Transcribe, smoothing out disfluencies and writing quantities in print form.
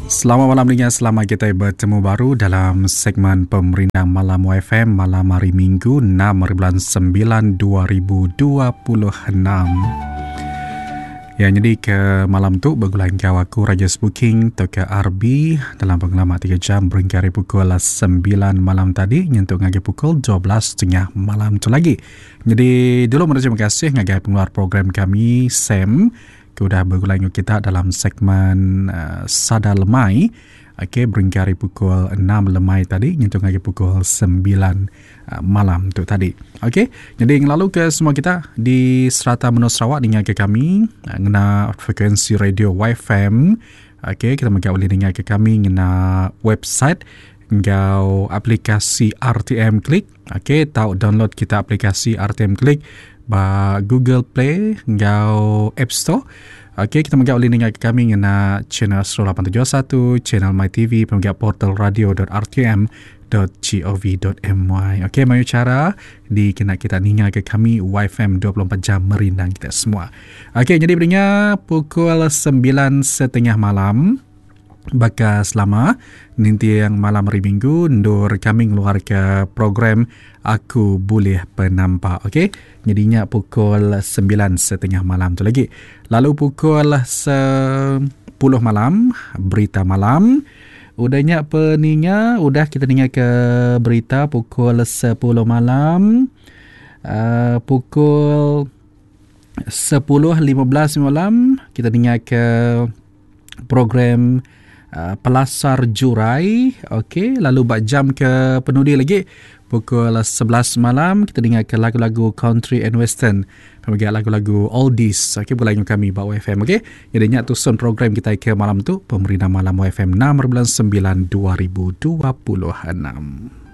Selamat malam ninga selamat kita bertemu baru dalam segmen Pemerindang Malam YFM malam hari Minggu 6 hari bulan 9 2026. Ya nyadi ke malam tu begulai enggau aku Raja Spuking tauka RB dalam pengelama 3 jam berengkah ari pukul 9 malam tadi nyentuk ngagai pukul 12.30 malam tu lagi. Nyadi dulu meri terima kasih ngagai pengeluar program kami Sam ke udah begulai enggau kita dalam segmen uh, Sada Lemai. Okey, berengkah ari pukul 6 lemai tadi nyentuk ngagai pukul 9 uh, malam tu tadi. Okey, jadi ngelalu ke semua kita di serata menua Sarawak ninga ke kami uh, ngena frekuensi radio YFM. Okey, kita mega boleh ninga ke kami ngena website enggau aplikasi RTM Click. Okey, tau download kita aplikasi RTM Click ba Google Play enggau App Store. Okey, kita mega ulih ninga ke kami ngena channel 0871, channel My TV, pemega portal radio.rtm.gov.my. Okey, mayuh cara dikena kita ninga ke kami YFM 24 jam merindang kita semua. Okey, jadi beringa pukul 9.30 malam. Baka selama, ninting malam hari Minggu endur kami ngeluarka program Aku Bulih Penampak. Okey, nyadi nya pukul 9.30 malam tu lagi. Lalu pukul 10 malam, berita malam. Udah nya peninga, udah kita ninga ke berita pukul 10 malam. Uh, pukul 10.15 malam, kita ninga ke program uh, Pelasar Jurai. Okey, lalu bak jam ke penudi lagi pukul 11 malam kita dengar ke lagu-lagu country and western. Bagi lagu-lagu oldies. Okey, boleh dengan kami bak YFM okey. Jadi nya tusun program kita ke malam tu Pemerintah Malam YFM 6 bulan 9 2026.